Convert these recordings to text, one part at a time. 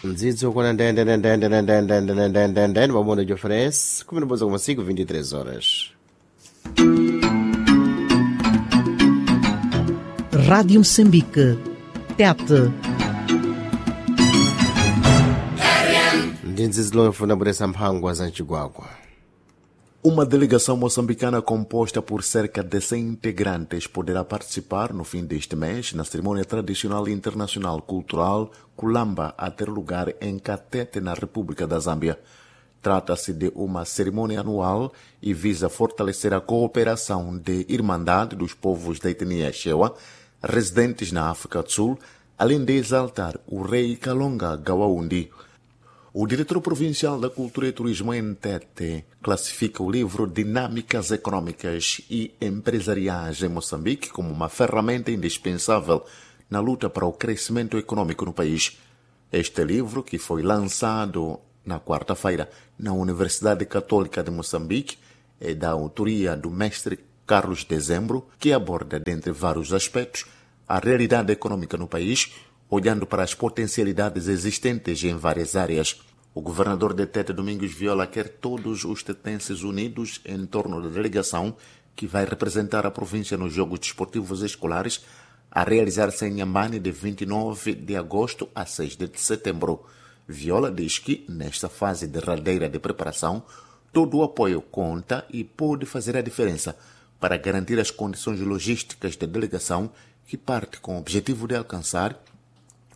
Mdzidzi ukwana ndendendendendendendendendendende pamodzi oferece 11,5 23 horas. Rádio Moçambique. Tete. Ndi mdzidzi lomwe funa bweresa mphangwa za mchigwagwa. Uma delegação moçambicana composta por cerca de 100 integrantes poderá participar no fim deste mês na cerimônia tradicional internacional cultural Kulamba a ter lugar em Catete, na República da Zâmbia. Trata-se de uma cerimônia anual e visa fortalecer a cooperação de irmandade dos povos da etnia Chewa residentes na África do Sul, além de exaltar o rei Kalonga Gawaundi. O diretor provincial da Cultura e Turismo em Tete classifica o livro Dinâmicas Econômicas e Empresariais em Moçambique como uma ferramenta indispensável na luta para o crescimento econômico no país. Este livro, que foi lançado na quarta-feira na Universidade Católica de Moçambique, é da autoria do mestre Carlos Dezembro, que aborda, dentre vários aspectos, a realidade econômica no país, olhando para as potencialidades existentes em várias áreas. O governador de Tete, Domingos Viola, quer todos os tetenses unidos em torno da delegação que vai representar a província nos Jogos Desportivos Escolares a realizar-se em Inhambane de 29 de agosto a 6 de setembro. Viola diz que, nesta fase derradeira de preparação, todo o apoio conta e pode fazer a diferença para garantir as condições logísticas da delegação que parte com o objetivo de alcançar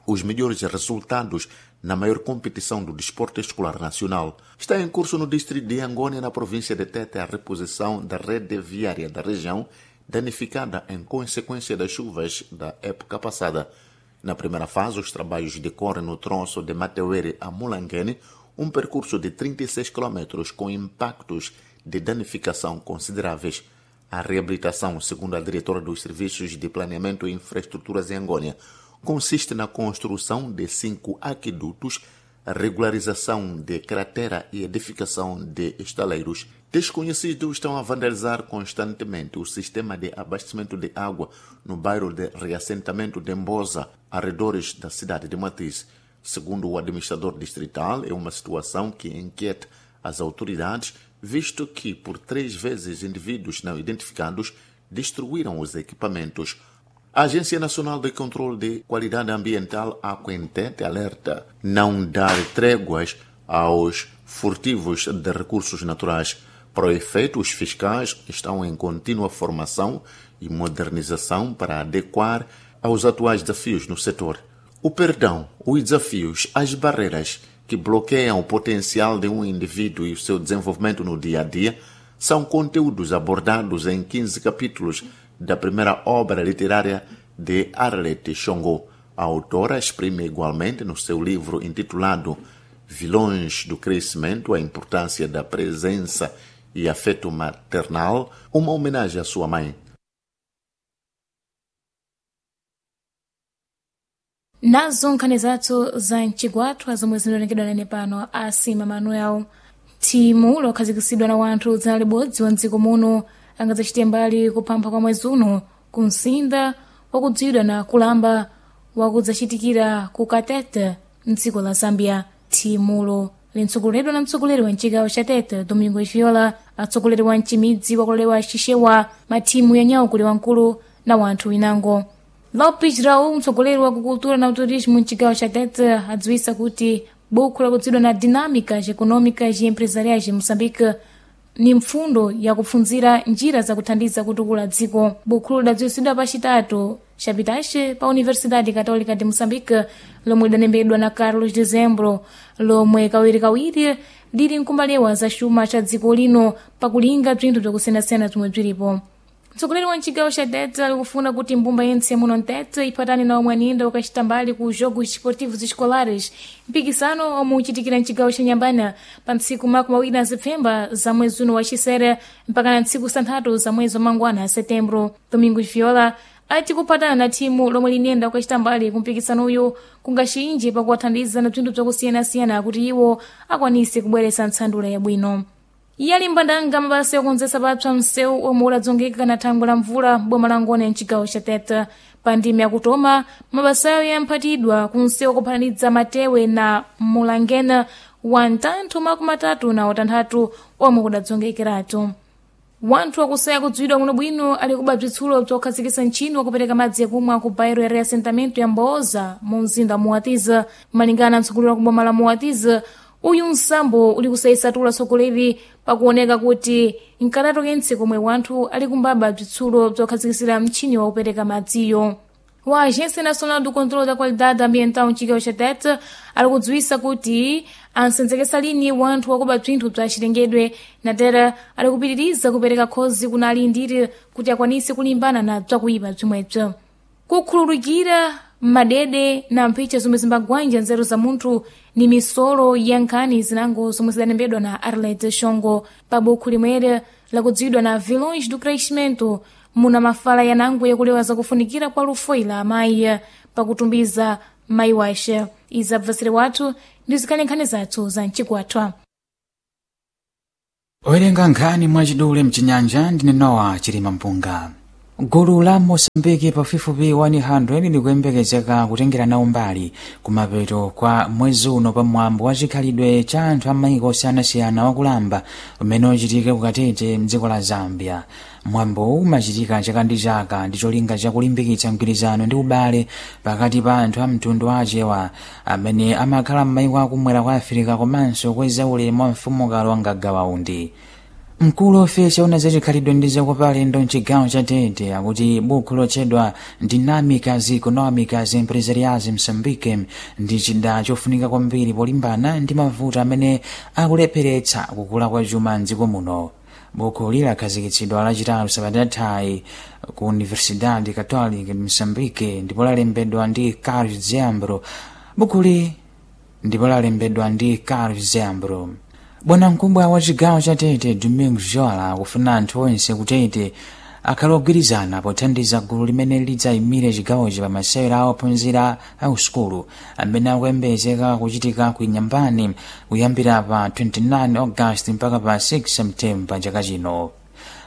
os melhores resultados na maior competição do desporto escolar nacional. Está em curso no distrito de Angônia, na província de Tete, a reposição da rede viária da região, danificada em consequência das chuvas da época passada. Na primeira fase, os trabalhos decorrem no troço de Mateuere a Mulanguene, um percurso de 36 km com impactos de danificação consideráveis. A reabilitação, segundo a diretora dos Serviços de Planeamento e Infraestruturas em Angônia, consiste na construção de 5 aquedutos, regularização de cratera e edificação de estaleiros. Desconhecidos estão a vandalizar constantemente o sistema de abastecimento de água no bairro de reassentamento de Mboza, arredores da cidade de Matiz. Segundo o administrador distrital, é uma situação que inquieta as autoridades, visto que por 3 vezes indivíduos não identificados destruíram os equipamentos. A Agência Nacional de Controle de Qualidade Ambiental, Aquentete, alerta não dar tréguas aos furtivos de recursos naturais. Para o efeito, os fiscais estão em contínua formação e modernização para adequar aos atuais desafios no setor. O perdão, os desafios, as barreiras que bloqueiam o potencial de um indivíduo e o seu desenvolvimento no dia a dia são conteúdos abordados em 15 capítulos da primeira obra literária de Arlette Chongo. A autora exprime igualmente no seu livro intitulado Vilões do Crescimento, a importância da presença e afeto maternal, uma homenagem à sua mãe. Nazo nkhani zathu za mchigwathu zomwe zinalengedwa nane pano asima Manuel. Thimu lokhazikitsidwa na wanthu dzana libodzi wa mdziko muno angadzachite mbali kuphampha kwa mwezi uno ku msinda wakudziwidwa na kulamba wakudzachitikira ku Katete mdziko la Zambia. Thimulo lintsogoleredwa na mtsogoleri wa mchigawo cha Tete Domingo Viola, atsogoleri wa mchimidzi wakulolewa Xixewa, mathimu ya nyawu kuli wamkulu na wanthu winango. Lopes Raul, mtsogoleri wa kukultura na turismo mchigawo cha Tete, adziwisa kuti buku lakudziwidwa na Dinâmicas Econômicas e Empresariais de Moçambique ni mfundo yakupfunzira njira zakuthandiza kutukula dziko. Bukhulo lidadziwitsidwa pachitatu chapitache pa Universidade Católica de Moçambique, lomwe lidalembedwa na Carlos Dezembro, lomwe kawirikawiri lili nkumbalewa za xuma cha dziko lino pakulinga bzinthu bzakusiyanasiyana zomwe bzilipo. Mtsogoleri wa mchigawo cha Tete alikufuna kuti mbumba yentse muno Mtete iphatane na omwe aninda ukachita mbali ku Jogos Desportivos Escolares, mpikisano omwe uchitikira mchigawo cha Nyambana pa ntsiku 20 Zepfemba za mwezi uno wa Xisere mpaka na ntsiku 6 za mwezi wa Mangwana Setembro. Domingos Viola ati kuphatana na thimu lomwe linenda ukachita mbali ku mpikisano uyu kungaxinje pakuwathandiza na bzinthu bzakusiyanasiyana kuti iwo akwanise kubweretsa ntsandula yabwino. Iye ali mbandanga mabasa yokonzetsa papsa msewu omwe udadzongeka na thangwe la mvula boma la Ngone mchigawo cha Tete. Pa Pa ndime yakutoma mabasayo yamphatidwa kunsewu kuphatanidza Matewe na Mulangena wa mtantho 36 omwe kudadzongekeratu. Wanthu akusaya kudziwidwa kuno bwino ali kuba bzitsulo bzokhazikitsa ntchino wakupereka madzi akumwa ku bairo ya reassentamento ya Mboza mu mzinda wa Muatiza. Malingana na mtsogoleri wa kuboma la Muatiza, uyu msambo uli kusayisatula tsogoleri pakuoneka kuti nkatatu kentse komwe wanthu ali kumbaba bzitsulo bzokhazikitsira mtchini wakupereka madziyo. Wa Agência Nacional do Controlo da Qualidade Ambiental mchigawo cha Tete ali kudziwisa kuti ansenzekesa lini wanthu wakuba bzinthu bza chilengedwe na tera ali kupitiriza kupereka khozi kuna alindiri kuti akwanise kulimbana na bzakuyipa bzimwebzo. Kukhululukira madede na mphicha zomwe zimbagwanja nzeru za munthu ni misolo ya nkhani zinango zomwe zidalembedwa na Arlete Shongo pa bukhu limwere lakudziwidwa na Vilões do Crescimento, muna mafala yanango yakulewa zakufunikira kwa lufo ila amayi pakutumbiza mayi wace. Izi abvasire wathu ndi zikhale nkhani zathu za mchigwathwa. Owerenga nkhani mwachidule mchinyanja ndine Nowa Chilima Mpunga. Gulu la Mosambiki pafupifupi 100 likuyembekezeka kutengera nawo mbali kumapeto kwa mwezi uno pamwambo wa chikhalidwe cha anthu a maiko osiyanasiyana wakulamba umene uchitika kukatete mdziko la Zambia. Mwambowu umachitika chaka ndi chaka ndi cholinga chakulimbikitsa mgwirizano ndi ubale pakati pa anthu a mtundu wa Achewa amene amakhala m'maiko akumwera kwa Afirika komanso kweza ulemu wa mfumukazi wa Ngagawaundi. Mkulu ofesi ona zachikhalidwe ndi zakopa alendo mchigawo cha Tete akuti bukhu lotchedwa Dinâmicas Económicas Empresariais em Moçambique ndi chida chofunika kwambiri polimbana ndi mavuto amene akulepheretsa kukula kwa chuma mdziko muno. Bukhu lilakhazikitsidwa lachitatu sabata yathayi ku Universidade Católica de Moçambique ndipo lalembedwa ndi Carlos Zembro. Bukhuli ndipo lalembedwa ndi Carlos Zembro. Bwanamkubwa wa chigawo cha Tete Domingo Jola akufuna anthu onse kutete akhale ogwirizana pothandiza gulu limene lidzayimire chigawochi pa masewera a ophunzira a usukulu amene akuyembekezeka kuchitika ku Inyambani kuyambira pa 29 August mpaka pa 6 Septemba chaka chino.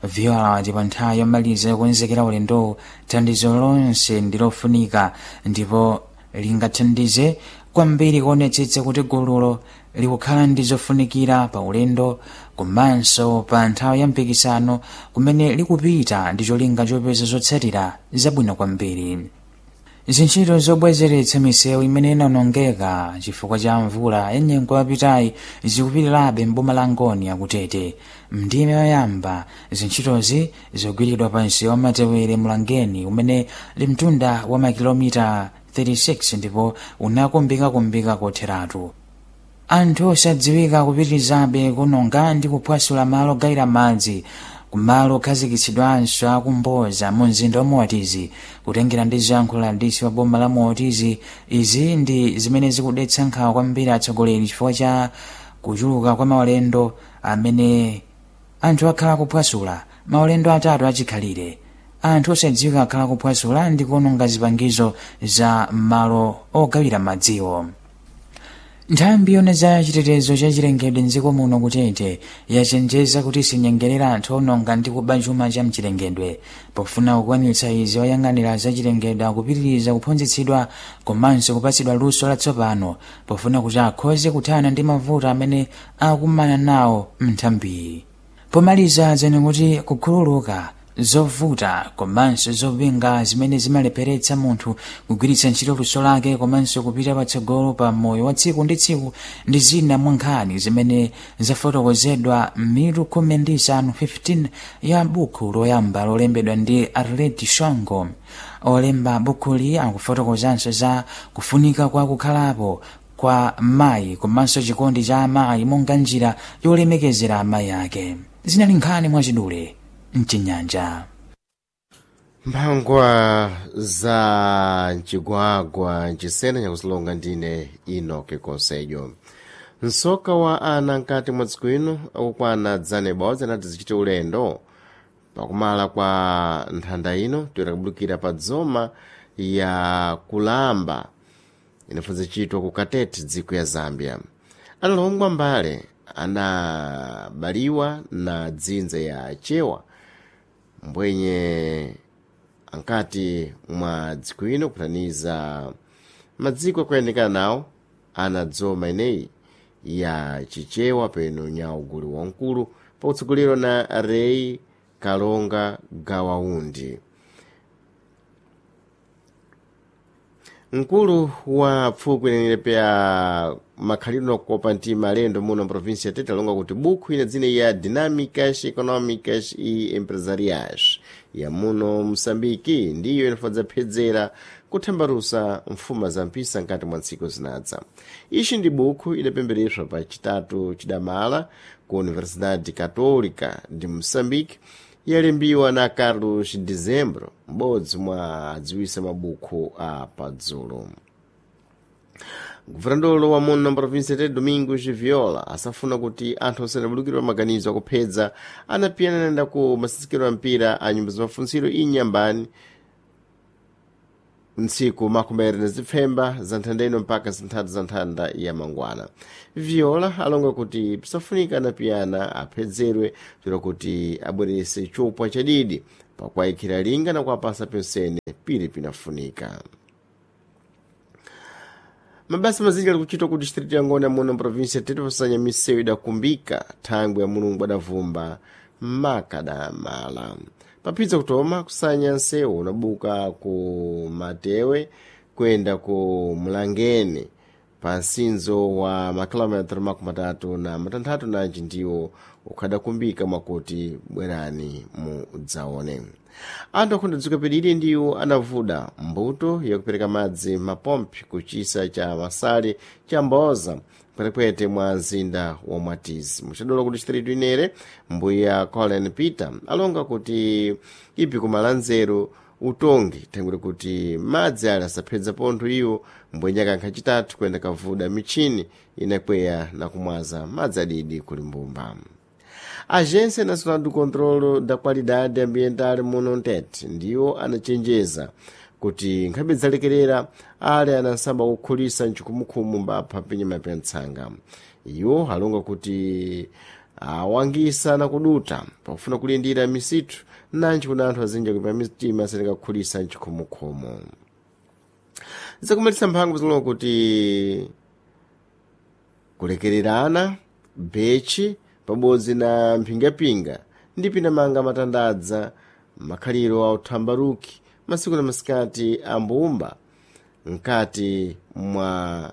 Viola wati pa nthawi yomaliza yokonzekera ulendowu thandizo lonse ndi lofunika ndipo lingathandize kwambiri kuonetsetsa kuti gululo likukhala ndi zofunikira pa ulendo komanso pa nthawi ya mpikisano kumene likupita ndi cholinga chopeza zotsatira zabwino kwambiri. Zintchito zobwezeretsa misewu imene inawonongeka chifukwa cha mvula ya nyengo yapitayi zikupitirirabe m'boma la Ngoni akutete. Mndime yoyamba zintchitozi zogwiridwa pa msewu wa Matewere Mlangeni umene ndi mtunda wa makilomita 36 ndipo unakumbikakumbika kotheratu. Anthu osadziwika kupitirizabe kunonga ndi kuphwasula malo ogayira madzi kumalo okhazikitsidwanso akumboza mu mzinda wa Moatizi. Kutengera ndi zoyankhula adisi wa boma la Moatizi, izi ndi zimene zikudetsa nkhawa kwambiri atsogoleri chifukwa cha kuchuluka kwa maulendo amene anthu akhala kuphwasula maulendo atatu achikhalire. Anthu osadziwika akhala kuphwasula ndi kuononga zipangizo za malo ogawira madziwo. Nthambi yona za chitetezo cha chilengedwe mdziko muno kutete yachenjeza kuti sinyengerera anthu ononga ndi kuba chuma cha mchilengedwe. Pofuna kukwanitsa izi, oyang'anira za chilengedwe akupitiriza kuphunzitsidwa komanso kupatsidwa luso latsopano pofuna kuti akhoze kuthana ndi mavuto amene akumana nawo mnthambiyi. Pomaliza dzene kuti kukhululuka zovuta komanso zopinga zimene zimalepheretsa munthu kugwiritsa ntchito luso lake komanso kupita patsogolo pa moyo wa tsiku ndi tsiku ndi zina mwa nkhani zimene zafotokozedwa m'mitu 15 15 ya bukhu loyamba lolembedwa ndi Arleti Shongo. Olemba bukhuli akufotokozanso za kufunika kwa kukhalapo kwa mayi komanso chikondi cha amayi monga njira yolemekezera amayi ake. Zinali nkhani mwachidule mchinyanja. Mphangwa za mchigwagwa mchisena nyakusilonga ndine Enoke Konsejo. Msoka wa ana nkati mwa dziko ino akukwana dzana ibodzi anati zichite ulendo pakumala kwa nthanda ino toyera kubulukira pa dzoma ya kulamba inafunza chitwa ku Katete dziko ya Zambia. Analongwa mbale anabaliwa na dzinza ya Chewa mbwenye Ankati mwa dziko ino kutaniza madziko akuyandikana nawo anadzoma ineyi ya Chichewa peno nyaugulu wamkulu pakutsogolero na Rei Kalonga Gawaundi. Mkulu wa pfukwi inene ya makhalidwe nokukopa mtima alendo muno mprovinsi ya Tete alonga kuti bukhu ina dzina ya Dinâmicas Econômicas e Empresariais ya muno Msambiki ndiyo inafadza phedzera kuthambalusa mfuma za mpisa nkati mwa ntsiku zinadza. Ixi ndi bukhu idapembereswa pa chitatu chidamala ku Universidade Católica de Moçambique, yalembiwa na Carlos Dezembro, m'bodzi mwa adziwisa mabukhu a padzulo. Guvernadolo wa muno mprovinsi ya Domingos Viola asafuna kuti anthu osadabulukirwa maganizo akuphedza anapiyana nayenda ku masitsikiro a mpira a nyumba zamafuntsiro inyambani ntsiku 25 za nthanda ino mpaka zinthatu za nthanda ya mangwana. Viola alonga kuti pisafunika anapiyana aphedzerwe chero kuti abwerese chopwa chadidi pakuwayikhira linga na kuwapasa pensene pili pinafunika. Mabasa mazinji ali kuchitwa ku distrito ya Ngona muno mprovinsi ya Tete pasanya misewu idakumbika thangwi ya Mulungu adavumba makadamala. Papidza kutoma kusanya nsewu unabuka ku Matewe kuyenda ku Mlangeni pa nsinzo wa makilometero 36 nanji ndiwo ukhadakumbika mwakuti bwerani mudzaone. Anthu akhunda dziko pedili ndiwo anavuda mbuto yakupereka madzi mapompi ku chisa cha Masale cha Mboza kwetekwete mwa mzinda wa Mwatizi. Muchadola ku distritu inere mbuya Colin Peter alonga kuti ipi kumalanzeru utongi thangwire kuti madzi ali asaphedza pontho iwo mbwenyaka nkhacitatu kuyenda kavuda michini inakweya na kumwaza madzi adidi kuli mbumba. Agência Nacional do Controlo da Qualidade Ambiental muno Ntete ndiwo anachenjeza kuti nkhabe zalekerera ale anasamba kukhulisa mchikhumukhumu mbapha pinyama pa ntsanga. Iwo alonga kuti awangisa na kuduta pakufuna kulindira misithu nanji kuna anthu azinja kuipa mitima asenekakhulisa mchikhumukhumu. Zakumalisa mphango zilonga kuti kulekererana bechi pabodzi na mphingapinga ndi pinamanga matandadza makhaliro a uthambaruki masiku na masikati a mbumba mkati mwa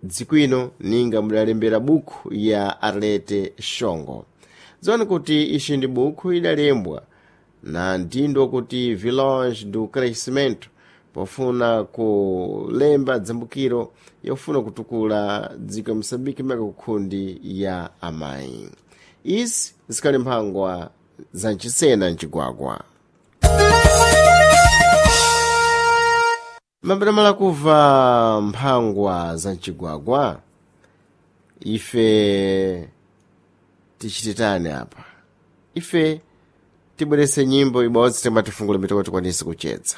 dziko ino ninga mudalembera bukhu ya Arlete Shongo. Dziwani kuti ixi ndi bukhu idalembwa na mtindo kuti Village do Crescimento pofuna kulemba dzambukiro yofuna kutukula dziko ya Moçambique maka kukhundi ya amayi. Izi zikhali mphangwa za mchisena mcigwagwa. Mapamala kuva mphangwa za mcigwagwa ife tichititani apa? Ife tibwerese nyimbo ibodzi timati tifungule mitoko tikwanise kuchedza.